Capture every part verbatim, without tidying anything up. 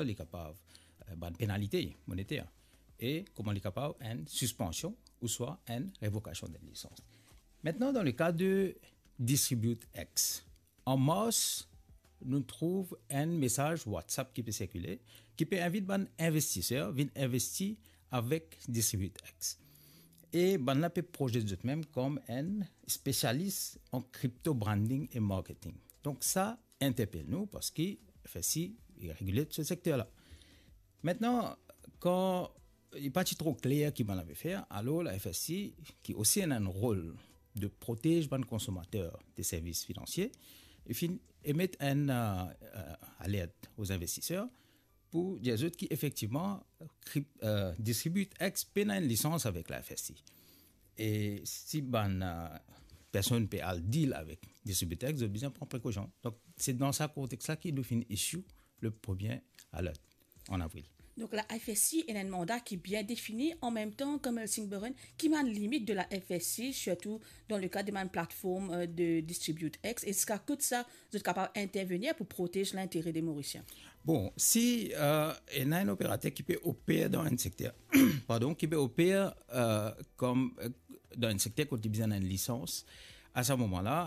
li kapav, eh, bann penalite monetaire, e kouma li kapav enn sispansion ouswa enn revokasion de lisans. Maintenant, dans le cas de Distribute X, an mars, nou trouv enn mesaz WhatsApp ki pe sirkile, ki pe invit bann investiser vinn investi avek Distribute X. E bann la pe proyekte zot mem kom enn spesialis an crypto branding e marketing. Donk sa interpel nou, parski F S I li regile se sekter la. Maintenant, kan li pa ti tro kler ki bann la pe fer, alor la F S I, ki osi ena enn rol de protez bann konsomater de servis finansie, li finn emet enn, eh, eh, alert aux investisseurs pou dir zot ki efektivman, krip-, eh, Distribute X pena enn lisans avek la F S I. E si bann, eh, personn pe al deal avek Distribute X, zot bizin pran prekosion. Donk, se dan sa kontex la ki nou finn issue le premier alert an avril. Donk la F S I ena enn manda ki bien defini, an mem tan, Colonel Singboren, ki bann limit de la F S I, sirtou dan le ka de bann platform, eh, de Distribute X, e ziska kot sa zot kapav intervenir pou protez lintere de Morisien? Bon, si, eh, ena enn operater ki pe oper dan enn sekter, pardon, ki pe oper, eh, kom, eh, dan enn sekter kot li bizin enn lisans, a sa moman la,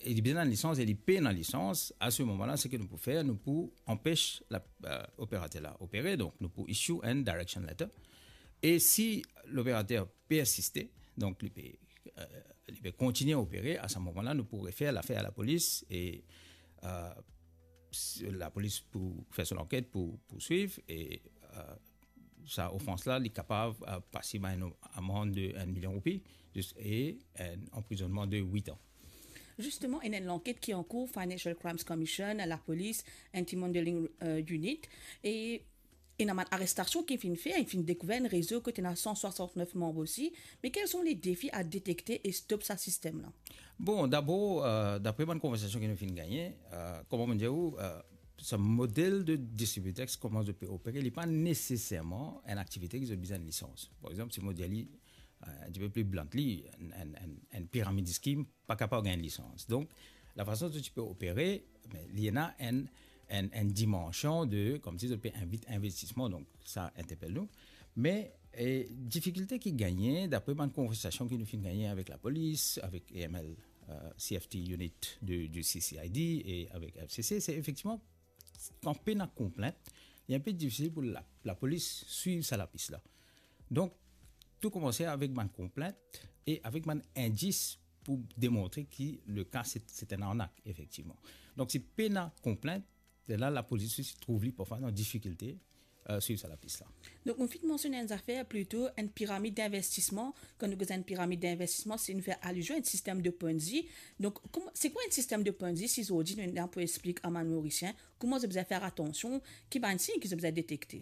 e li bizin enn lisans e li pena lisans, a se moman la, seki nou pou fer, nou pou anpes la, eh, operater la opere, donk nou pou issue enn direction letter. E si loperater persiste, donk li pe, eh, li pe kontinie opere, a sa moman la, nou pou refer lafer a lapolis e, eh, s-, lapolis pou fer so lanket, pou, pou swiv e, eh, sa ofans la, li kapav, eh, pasib a enn amand de enn milion roupi, zis, e enn anprizonnman de wit an. Zisteman, ena enn lanket ki ankour, Financial Crimes Commission, lapolis, Anti-Money Laundering, eh, Unit, e ena bann arestasion ki finn fer, finn dekouver enn rezo kot ena san swasant-nef manm osi. Me kel son le defi a detekte e stop sa sistem la? Bon, dabor, eh, dapre bann konversasion ki nou finn gagne, eh, kouma mo dir ou, eh, sa model de Distribute X, kouma zot pe opere, li pa neseserman enn aktivite ki zot bizin enn lisans. Par exanp, si mo dir li, eh, enn tipe pli bluntly, enn, enn, enn, enn pyramid scheme pa kapav gagn lisans. Donk, lafason zot ti pe opere, me li ena enn, enn, enn dimansion de, koumsi zot pe invit investisman, donk sa interpel nou. Me, eh, difikilte ki gagne, dapre bann konversasion ki nou finn gagne avek lapolis, avek A M L, eh, C F T unit de, du C C I D e avek F C C, se efektivman, kan pena konplint, li enpe difisil pou la, lapolis swiv sa lapis la. Donk, tou koumanse avek bann konplint e avek bann indis pou demontre ki le ka se, se enn arnak, efektivman. Donk, si pena konplint, la, lapolis osi trouv li parfwa dan difikilte, eh, swiv sa lapis la. Donk, nou finn mansionn enn zafer, plito enn piramid dinvestisman. Kan nou koz enn piramid dinvestisman, se nou fer alizion a enn sistem de Ponzi. Donk, kouma, se kwa enn sistem de Ponzi, si zordi nou ena pou explik a bann Morisien, kouma zot bizin fer atansion, ki bann sign ki zot bizin detekte?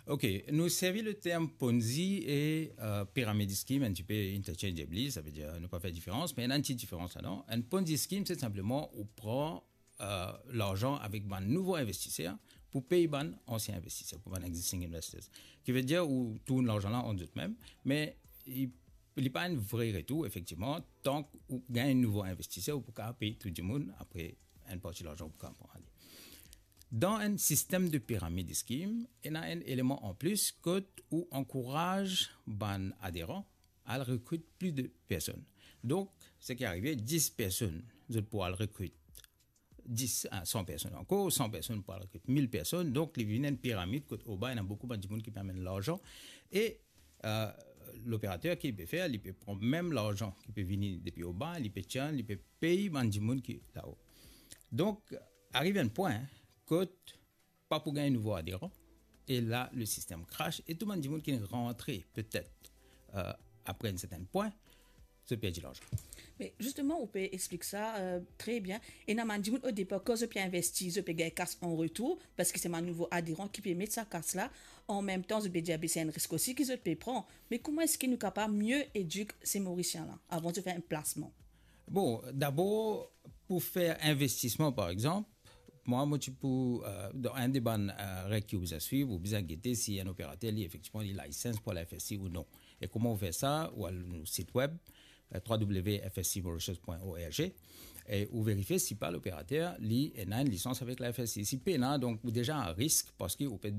Ok, nou servi le term Ponzi e, eh, pyramid scheme enn tipe interchangeably, savedir nou pa fer diferans, me ena enn ti diferans ladan. Enn Ponzi scheme, se sinpleman ou pran, eh, larzan avek bann nouvo investiser pou pey bann ansien investiser, pou bann existing investors. Ki vedir ou tourn larzan la ant zot mem, me li, li pa enn vre retour, efektivman, tank ou gagn nouvo investiser, ou pou kapav pey tou dimoun, apre enn parti larzan ou pou kapav pran ale. Dan enn sistem de pyramid scheme, ena enn eleman anplis kot ou ankouraz bann aderan al rekrit plis de personn. Donk, seki arive, dis personn, zot pou al rekrit dis a san personn ankor, san personn pou al rekrit mil personn, donk li vinn enn piramid kot oba ena boukou bann dimoun ki pe amenn larzan, e, eh, loperater ki pe fer, li pe pran mem larzan ki pe vini depi oba, li pe tir, li pe pey bann dimoun ki lao. Donk, ariv enn pwin kot pa pou gagn nouvo aderan, e la, le sistem crash, e tou bann dimoun ki rantre, petet, eh, apre enn sertenn pwin, zot perdi larzan. Me zisteman, ou pe explik sa, eh, tre bien. Ena bann dimoun o depar, kan zot pe investi, zot pe gagn kas an retour, parski se bann nouvo aderan ki pe met sa kas la. An mem tan, zot pe dir, be, se enn risk osi ki zot pe pran. Me kouma eski nou kapav mie edik se Morisien la, avan zot fer enn plasman? Bon, dabor, pou fer investisman, par exanp, mwa, mo ti pou, eh, dan enn de bann, eh, reg ki ou bizin swiv, ou bizin gete si enn operater, li, efektivman, li license par la F S I ou non. E kouma ou fer sa? Ou al nou sit web, eh, w w w f s i mauritius point org, e ou verifie si pa loperater li ena enn lisans avek la F S I. Si pena, donk ou deza a risk, parski ou pe